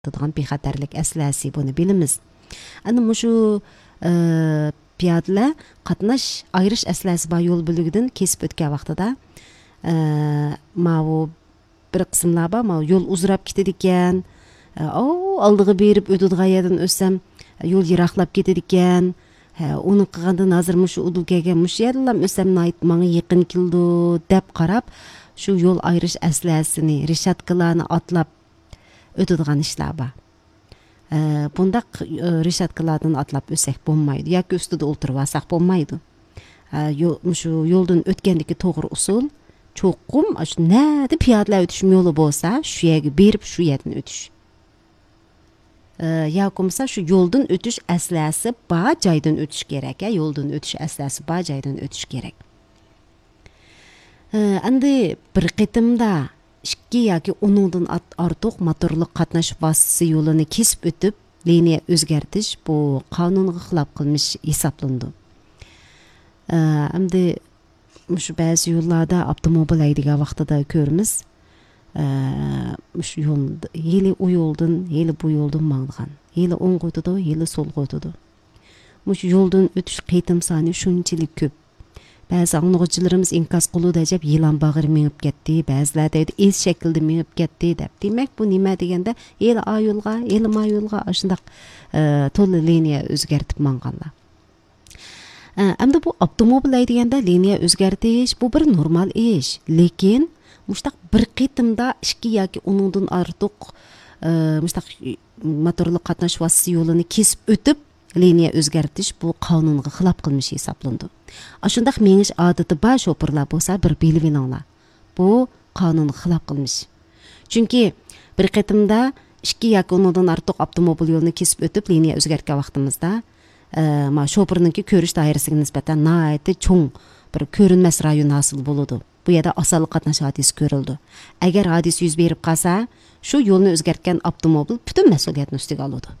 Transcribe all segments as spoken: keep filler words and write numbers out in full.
ئېتىدىغان بىخەتەرلىك ئەسلىھەسى، بۇنى بىلىمىز. ئەنە مۇشۇ، ئە، پىيادىلەر قاتناش ئايرىش ئەسلىھەسى بار يول بۆلىكىدىن كېسىپ ئۆتكەن ۋاقتىدا، ئە، ماۋۇ بىر قىسىملار بار، ماۋۇ يول ئۇزىراپ كېتىدىكەن، ئە، ئاۋۇ ئالدىغا بېرىپ ئۆتىدىغان يەردىن ئۆتسەم، يول يىراقلاپ كېتىدىكەن، ھە، ئۇنى قىلغاندىن ھازىر مۇشۇ ئۇدۇل كەلگەن مۇشۇ يەردىنلا ئۆتسەم ناھايىتى ماڭا يېقىن كېلىدۇ، دەپ قاراپ، شۇ يول ئايرىش ئەسلىھەسىنى، رېشاتكىلارنى ئاتلاپ ئۆتىدىغان ئىشلار بار. ئە، بۇنداق، ئە، رېشاتكىلاردىن ئاتلاپ ئۆتسەك بولمايدۇ ياكى ئۈستىدە ئولتۇرۇۋالساق بولمايدۇ. ئە، يو-، مۇشۇ يولدىن ئۆتكەندىكى توغرا ئۇسۇل، چوقۇم ئاشۇ نەدە پىيادىلەر ئۆتۈش يولى بولسا، شۇ يەرگە بېرىپ، شۇ يەردىن ئۆتۈش. ئە، ياكى بولمىسا شۇ يولدىن ئۆتۈش ئەسلىھەسى بار جايدىن ئۆتۈش كېرەك، ھە، يولدىن ئۆتۈش ئەسلىھەسى بار جايدىن ئۆتۈش كېرەك. ئە، ئەمدى بىر قېتىمدا ئىككى ياكى ئۇنىڭدىن ئات-، ئارتۇق موتورلۇق قاتناش ۋاسىتىسى يولىنى كېسىپ ئۆتۈپ، لىنىيە ئۆزگەرتىش بۇ قانۇنغا خىلاپ قىلمىش ھېسابلىنىدۇ. ئە، ئەمدى مۇشۇ بەزى يوللاردا ئاپتوموبىل ھەيدىگەن ۋاقتىدا كۆرىمىز. ئە، مۇشۇ يول، ھېلى ئۇ يولدىن، ھېلى بۇ يولدىن ماڭىدىغان. ھېلى ئوڭغا ئۆتىدۇ، ھېلى سولغا ئۆتىدۇ. مۇشۇ يولدىن ئۆتۈش قېتىم سانى شۇنچىلىك كۆپ. بەزى ئاڭلىغۇچىلىرىمىز ئىنكاس قىلىدۇ، ئەجەب يىلان باغرى مېڭىپ كەتتى، بەزىلەر دەيدۇ، ئېس شەكىلدە مېڭىپ كەتتى دەپ. دېمەك، بۇ نېمە دېگەندە، ھېلى ئا يولغا، ھېلى ما يولغا ئاشۇنداق، ئە، تولا لىنىيە ئۆزگەرتىپ ماڭغانلار. ئە، ئەمدى بۇ ئاپتوموبىل ھەيدىگەندە لىنىيە ئۆزگەرتىش، بۇ بىر نورمال ئىش. لېكىن، مۇشتاق بىر قېتىمدا ئىككى ياكى ئۇنىڭدىن ئارتۇق، ئە، مۇشتاق موتورلۇق قاتناش ۋاسىتىسى يولىنى كېسىپ ئۆتۈپ، لىنىيە ئۆزگەرتىش بۇ قانۇنغا خىلاپ قىلمىش ھېسابلىنىدۇ. ئاشۇنداق مېڭىش ئادىتى بار شوپۇرلار بولسا بىر بىلىۋېلىڭلار. بۇ قانۇنغا خىلاپ قىلمىش. چۈنكى بىر قېتىمدا ئىككى ياكى ئۇنىڭدىن ئارتۇق ئاپتوموبىل يولىنى كېسىپ ئۆتۈپ، لىنىيە ئۆزگەرتكەن ۋاقتىمىزدا، ئە، ما شوپۇرنىڭكى كۆرۈش دائىرىسىگە نىسبەتەن ناھايىتى چوڭ بىر كۆرۈنمەس رايون ھاسىل بولىدۇ. بۇ يەردە ئاسانلا قاتناش ھادىسىسى كۆرۈلىدۇ. ئەگەر ھادىسە يۈز بېرىپ قالسا، شۇ يولنى ئۆزگەرتكەن ئاپتوموبىل پۈتۈن مەسئۇلىيەتنى ئۈستىگە ئالىدۇ.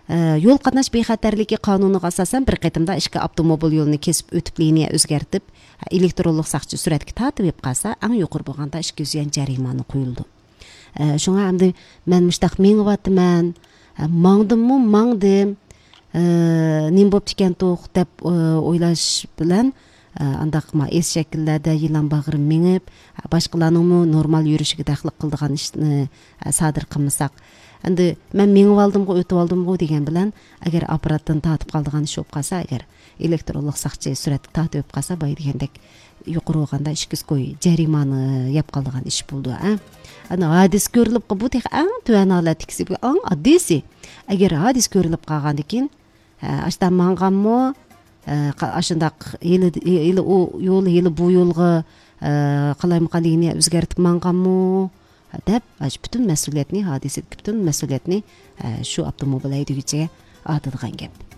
ئە، يول قاتناش بىخەتەرلىكى قانۇنىغا ئاساسەن، بىر قېتىمدا ئىككى ئاپتوموبىل يولىنى كېسىپ ئۆتۈپ، لىنىيە ئۆزگەرتىپ، ئېلېكترونلۇق ساقچى سۈرەتكە تارتىۋېلىپ قالسا، ئەڭ يۇقىرى بولغاندا ئىككى يۈز يۈەن جەرىمانە قويۇلىدۇ. ئە، شۇڭا ئەمدى مەن مۇشتاق مېڭىۋاتىمەن، ئە، ماڭدىممۇ ماڭدىم، ئە، نېمە بوپتىكەنتۇق دەپ، ئە، ئويلاش بىلەن، ئە، ئانداق ما ئېس شەكىللەردە يىلان باغرى مېڭىپ، ئە، باشقىلارنىڭمۇ نورمال يۈرۈشىگە دەخلى قىلىدىغان ئىشنى، ئە، سادىر قىلمىساق. ئەمدى مەن مېڭىۋالدىمغۇ، ئۆتۈۋالدىمغۇ دېگەن بىلەن، ئەگەر ئاپپاراتتىن تارتىپ قالىدىغان ئىش بولۇپ قالسا، ئەگەر ئېلېكترونلۇق ساقچى سۈرەتكە تارتىۋېلىپ قالسا، بايا دېگەندەك يۇقىرى بولغاندا ئىككى يۈز كوي جەرىمانە يەپ قالىدىغان ئىش بولىدۇ، ھە؟ ئەنە ھادىسە كۆرۈلۈپ، بۇ تېخى ئەڭ تۆۋەن ھالەتتىكىسى، بۇ ئەڭ ئاددىيسى. ئەگەر ھادىسە كۆرۈلۈپ قالغاندىن كېيىن، ھە، ئاشتا ماڭغانمۇ، ھە، قا-، ئاشۇنداق ھېلى، ھېلى ئۇ يول، ھېلى بۇ يولغا، ھە، قالايمىقان لىنىيە ئۆزگەرتىپ ماڭغانمۇ، ھە، دەپ، ئاشۇ پۈتۈن مەسئۇلىيەتنى، ھادىسىدىكى پۈتۈن مەسئۇلىيەتنى، ھە، شۇ ئاپتوموبىل ھەيدىگۈچىگە ئارتىدىغان گەپ.